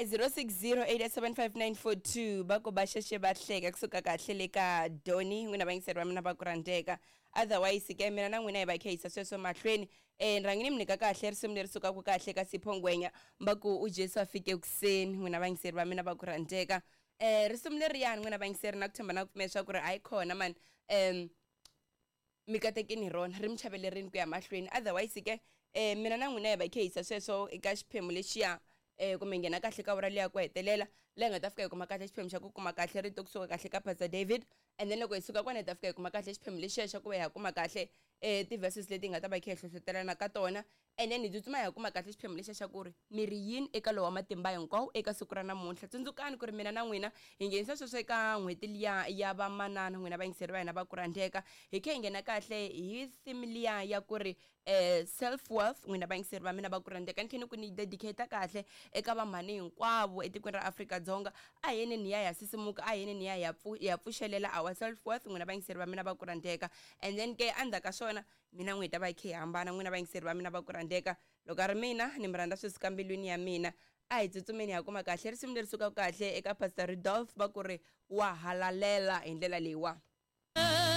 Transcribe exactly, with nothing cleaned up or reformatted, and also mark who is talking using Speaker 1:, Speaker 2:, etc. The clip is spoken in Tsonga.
Speaker 1: zero six zero eight seven five nine four two va ku va xexe va hleka kusuka kahle le ka doni n'wina vayingiseri va mina va ku rhandzeka. Otherwise ke mina na n'wina hi va kha yisa sweswo mahlweni. um rhangi ni mi nyika kahle risimu leri sukaka kahle ka Sipho Ngwenya va ku u Jesu a fike kuseni, n'wina vayingiseri va mina va ku rhandzeka. um risimu leriyani n'wina vayingiseri na ku tshemba na ku pfumela swa ku ri hayi khona mani um mi katekini hi rona ri mi chavelerini ku ya mahlweni. Otherwise ke um mina na n'wina hi va kha yisa sweswo eka xiphemu lexiya eh kumbe nghena kahle ka ura liya ku hetelela leyi nga ta fika hi kuma kahle xiphemu xa ku kuma kahle rito kusuka kahle ka Pastor David, and then loko hi suka kona hi ta fika hi kuma kahle xiphemu lexiya xa ku va hi ya kuma kahle eh ti-verses leti hi nga ta va hi kha hi hlohlotelana ka tona, and then hi tsutsuma hi ya kuma kahle xiphemu lexiya xa ku ri mi ri yini eka lowa matimba hinkwawo eka siku ra namuntlha. Tsundzukani ku ri mina na n'wina hi nghenisa sweswo eka n'hweti liya ya vamanana, n'wina vayingiseri va hina va ku rhandzeka, hi kha hi nghena kahle hi theme liya ya ku ri eh self worth, n'wina vayingiseri va mina va ku rhandzeka. Ni kha ni ku ni dedicate kahle eka vamhani hinkwavo etikweni ra Afrika-Dzonga, a hi yeni ni ya ya sisimuka, a hi yeni ni ya ya ya pfuxelela our self worth, n'wina vayingiseri va mina va ku rhandzeka. And then ke endzhaku ka swona mina n'wi hi ta va hi kha hi hambana, n'wina vayingiseri va mina va ku rhandzeka. Loko a ri mina ni mi rhandza swi suka mbilwini ya mina, a hi tsutsumeni hi ya kuma kahle risimu leri sukaka kahle eka Pastor Rudolph va ku ri wa halalela hi ndlela leyiwa.